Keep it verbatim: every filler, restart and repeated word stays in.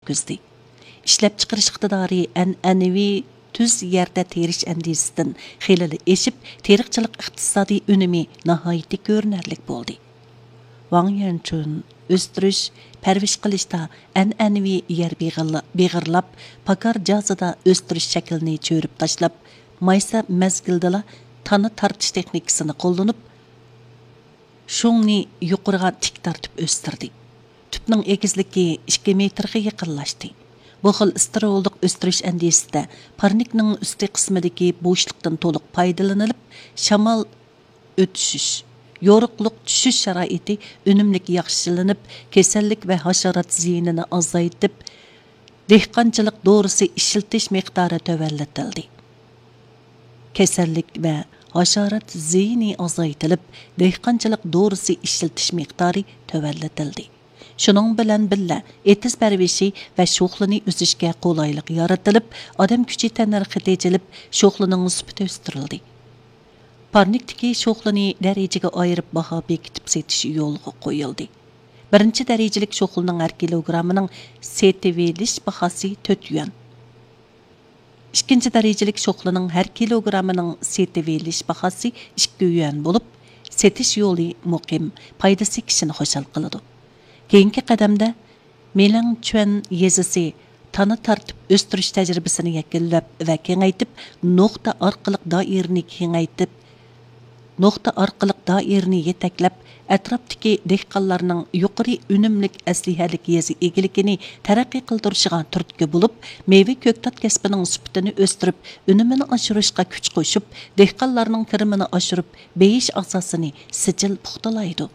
يەتكۈزدى. ئىشلەپچىقىرىش ئىقتىدارى ئەنئەنىۋى تۈز يەردە تېرىش ئەندىزىسىدىن خېلىلا ئېشىپ، تېرىقچىلىق ئىقتىسادىي ئۈنۈمى ناھايىتى كۆرۈنەرلىك بولدى. ۋاڭ يەنچۈن ئۆستۈرۈش، پەرۋىش قىلىشتا ئەنئەنىۋى يەر بېغىرلا-، بېغىرلاپ، پاكار جازىدا ئۆستۈرۈش شەكلىنى چۆرۈپ تاشلاپ، مايسا مەزگىلدىلا تانا تارتىش تېخنىكىسىنى قوللىنىپ، شۇڭنى يۇقىرىغا تىك تارتىپ ئۆستۈردى. تۈپنىڭ ئېگىزلىكى ئىككى مېتىرغا يېقىنلاشتى. بۇ خىل ئىستېرېئولۇق ئۆستۈرۈش ئەندىزىسىدە پارنىكنىڭ ئۈستى قىسمىدىكى بوشلۇقتىن تولۇق پايدىلىنىلىپ، شامال ئۆتۈشۈش، يورۇقلۇق چۈشۈش شارائىتى ئۈنۈملۈك ياخشىلىنىپ، كېسەللىك ۋە ھاشارات زىيىنىنى ئازايتىپ، دېھقانچىلىق دورىسى ئىشلىتىش مىقدارى تۆۋەنلىتىلدى. كېسەللىك ۋە ھاشارات زىيىنى ئازايتىلىپ، دېھقانچىلىق دورىسى ئىشلىتىش مىقدارى تۆۋەنلىتىلدى. شۇنىڭ بىلەن بىللە، ئېتىز پەرۋىشى ۋە شوخلىنى ئۈزۈشكە قولايلىق يارىتىلىپ، ئادەم كۈچى تەننەرخى تېجىلىپ، شوخلىنىڭ سۈپىتى ئۆستۈرۈلدى. پارنىكتىكى شوخلىنى دەرىجىگە ئايرىپ باھا بېكىتىپ سېتىش يولغا قويۇلدى. بىرىنچى دەرىجىلىك شوخلىنىڭ ھەر كىلوگرامىنىڭ سېتىۋېلىش باھاسى تۆت يۈەن. ئىككىنچى دەرىجىلىك شوخلىنىڭ ھەر كىلوگرامىنىڭ سېتىۋېلىش باھاسى ئىككى يۈەن بولۇپ، سېتىش يولى مۇقىم، پايدىسى كىشىنى خۇشال قىلىدۇ. كېيىنكى قەدەمدە مېلىڭچۈەن يېزىسى تانا تارتىپ ئۆستۈرۈش تەجرىبىسىنى يەكۈنلەپ ۋە كېڭەيتىپ، نۇقتا ئارقىلىق دائىرىنى كېڭەيتىپ، نۇقتا ئارقىلىق دائىرىنى يېتەكلەپ، ئەتراپتىكى دېھقانلارنىڭ يۇقىرى ئۈنۈملۈك ئەسلىھەلىك يېزا ئىگىلىكىنى تەرەققىي قىلدۇرۇشىغا تۈرتكە بولۇپ، مېۋە كۆكتات كەسپىنىڭ سۈپىتىنى ئۆستۈرۈپ، ئۈنۈمىنى ئاشۇرۇشقا كۈچ قوشۇپ، دېھقانلارنىڭ كىرىمىنى ئاشۇرۇپ، بېيىش ئاساسىنى سىجىل پۇختىلايدۇ.